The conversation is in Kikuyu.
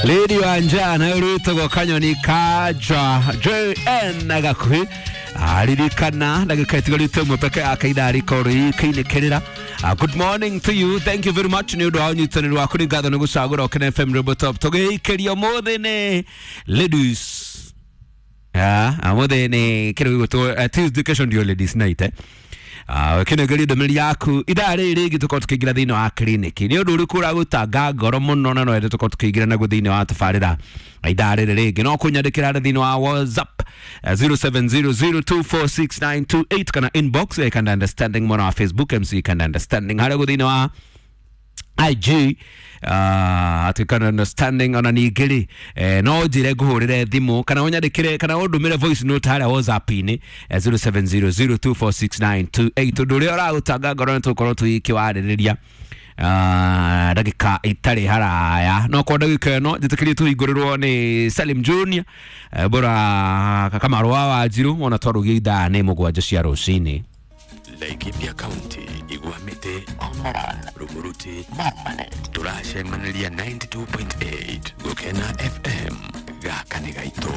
Lady wa njana rwitagwo Kanyoni Kaja JN gakuhi aririkana ndagika itigarite ĩmwe peke yake ithaa rikorwo ikiinĩkĩrĩra. Good morning to you, thank you very much nĩ ũndũ wa ũnyitanĩri waku. Nĩ ngatho nĩ gũcagũra Ũkene FM Robo Top. Tũgĩikĩria ũmũthĩ nĩ ladies. Ũmũthĩ nĩ kĩndũ gĩgwĩtwo Tuesday, kesho ndio ladies night, eh. Kĩnengeria ndũmĩrĩri yaku ithaa rĩrĩ rĩngĩ tũkorwo tũkĩingĩra thĩinĩ wa kiriniki. Nĩ ũndũ ũrĩkũ ũragũtanga ngoro mũno na no tũkorwo tũkĩingĩra naguo thĩinĩ wa tabarĩra ithaa rĩrĩ rĩngĩ? No kũnyandĩkĩra harĩa thĩinĩ wa WhatsApp 0700246928 kana inbox ya Kanda Understanding mwena wa Facebook, MC Kanda Understanding harĩa guo thĩinĩ wa IG, atĩ Kanda Understanding. Ona ningĩ rĩ, no njĩre ngũhũrĩre thimũ kana ũnyandĩkĩre kana ũndũmĩre voice note harĩa WhatsApp-inĩ, 0700246928, ũndũ ũrĩa ũragũtanga ngoro nĩ tũgũkorwo tũgĩkĩwarĩrĩria ndagĩka itarĩ haraya. No kwa ndagĩka ĩno njĩtĩkĩrie tũhingũrĩrwo nĩ Salim Junior, bora kamarũa wa Wanjiru ona twarũgia ithaa nĩ 7 cia rũcinĩ. Laikipia County, Igwamite, Omoran, Rumuruti, Marmanet. Turacemaniria 92.8 Gukena FM. Gaka nĩ gaitũ.